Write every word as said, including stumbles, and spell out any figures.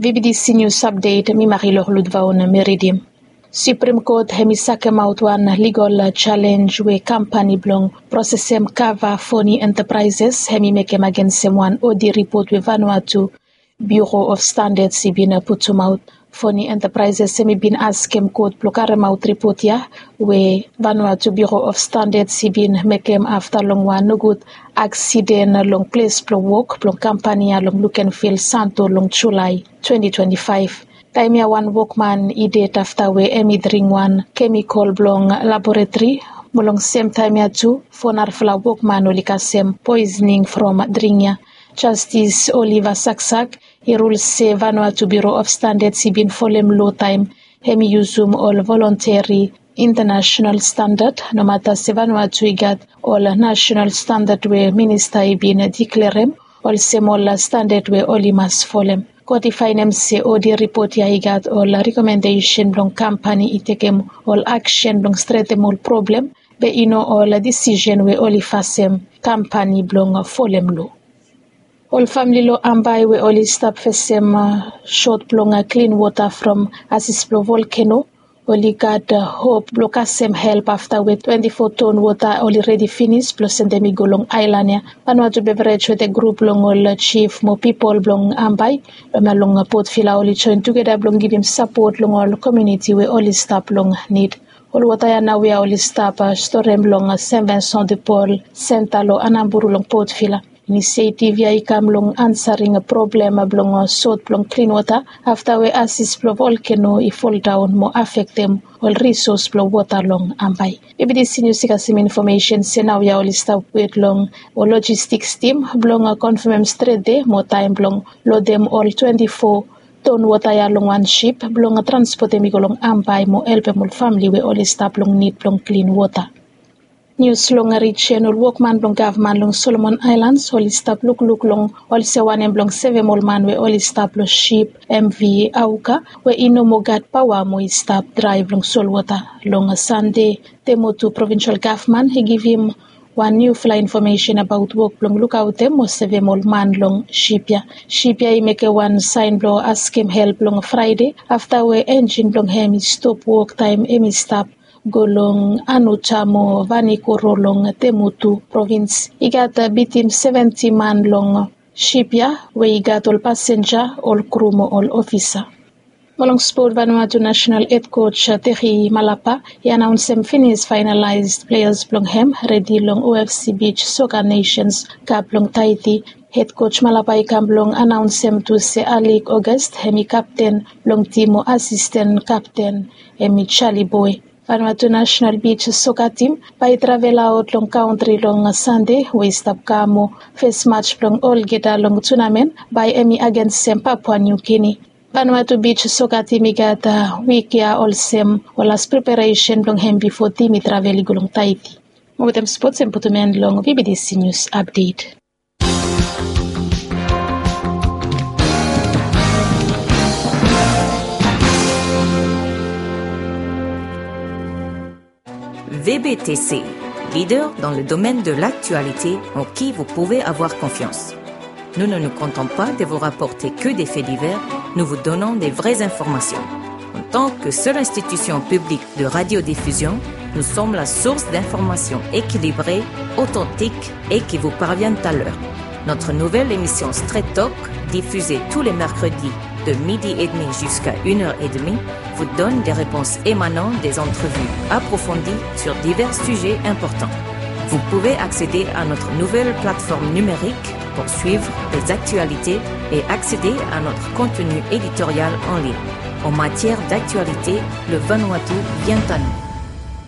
V B T C News Update, mi Marilor Ludvaon mi ridim. Supreme Court hemi sakemaot wan legal challenge we kampani blong prosesem kava Foni Enterprises hemi mekem agensem wan audit report we Vanuatu Bureau of Standards i bin putumaot. Foni Enterprises hemi bin askem kot blong karemaot report ya we Vanuatu Bureau of Standards i bin mekem afta long wan nogud aksiden long ples blong wok blong kampani ya long Lukenville, Santo long Julae twenti twenti faef. Taem ya wan wokman i ded afta we hemi dring wan kemikol blong laboratori, mo long sem taem ya tu fo narafala wokman oli kasem poisoning from dring ya. Jastis Oliver Saksak i rul se Vanuatu Bureau of Standards i bin folem loa taem hemi yusum ol volunteri international standard, nomata se Vanuatu i gat ol national standard we minista i bin diklerem olsem ol standard we oli mas folem. Kot i faenem se audit report ya i gat ol rekomendesen blong kampani i tekem ol aksen blong stretem ol problem, be i no ol disisen we oli fasem kampani blong folem loa. Ol famle long Ambae we oli stap fesem sot blong klin wota from ases blong volkeno, oli gat hop blong kasem help afta we twenti fo ton wota oli redi finis blong sendem i go long aelan ya. Vanuatu Beverage wetem grup blong ol jif mo pipol blong Ambae, hemia long Port Vila, oli joen tugeta blong givim sapot long ol komuniti we oli stap long nid. Ol wota ya naoia oli stap storem long Saint Vincent de Paul Center long Anamburu long Port Vila. Inisetiv ya i kam long ansarem problem blong sot blong klin wota afta we ases blong volkeno i foldaon mo afektem ol risos blong wota long Ambae. V B T C News i kasem infomesen se naoia oli stap wet long ol lojistiks tim blong konfamem stret de mo taem blong lodem ol twenti fo ton wota ya long wan sip blong transpotem i go long Ambae mo helpem ol famle we oli stap long nid blong klin wota. Nius long rijen. Ol wokman blong gavman long Solomon Aelans oli stap lukluk long olsem wanem blong sevem ol man we oli stap long sip M V Auka we i no moa gat paoa mo i stap draev long solwota. Long Sande, Temotu provinsel gavman i givim wan niufala infomesen abaot wok blong lukaotem mo sevem ol man long sip ya. Sip ya i mekem wan saen blong askem help long Fraede afta we enjin blong hem i stop wok taem hem i stap go long Anuta mo Vanikoro long Temotu provins. I gat bitim seventi man long sip ya we i gat ol pasenja, ol kru mo ol ofisa. Mo long spot, Vanuatu nasenal hed koj Teri Malapa i anaonsem finis faenalaes pleas blong hem redi long O F C Beach Soccer Nations Cup blong Taiti. Hed koj Malapa i kam blong anaonsem tu se Alik Ogast hem i kapten blong tim mo asisten kapten hem i Jali Boe. Vanuatu nasenal beach soka tim bae i travelaot long kantri long Sande we i stap kam mo fes maj blong olgeta long tunamen bae hem i agensem Papua Niu Gini. Vanuatu beach soka tim i gat wik ya olsem ol las preparesen blong hem bifo tim i travel i go long Taiti. Mo wetem spots hem putum en long V B T C News Update. V B T C, leader dans le domaine de l'actualité en qui vous pouvez avoir confiance. Nous ne nous contentons pas de vous rapporter que des faits divers, nous vous donnons des vraies informations. En tant que seule institution publique de radiodiffusion, nous sommes la source d'informations équilibrées, authentiques et qui vous parviennent à l'heure. Notre nouvelle émission Straight Talk, diffusée tous les mercredis de midi et demi jusqu'à une heure et demie, vous donne des réponses émanant des entrevues approfondies sur divers sujets importants. Vous pouvez accéder à notre nouvelle plateforme numérique pour suivre les actualités et accéder à notre contenu éditorial en ligne. En matière d'actualité, le Vanuatu vient à nous.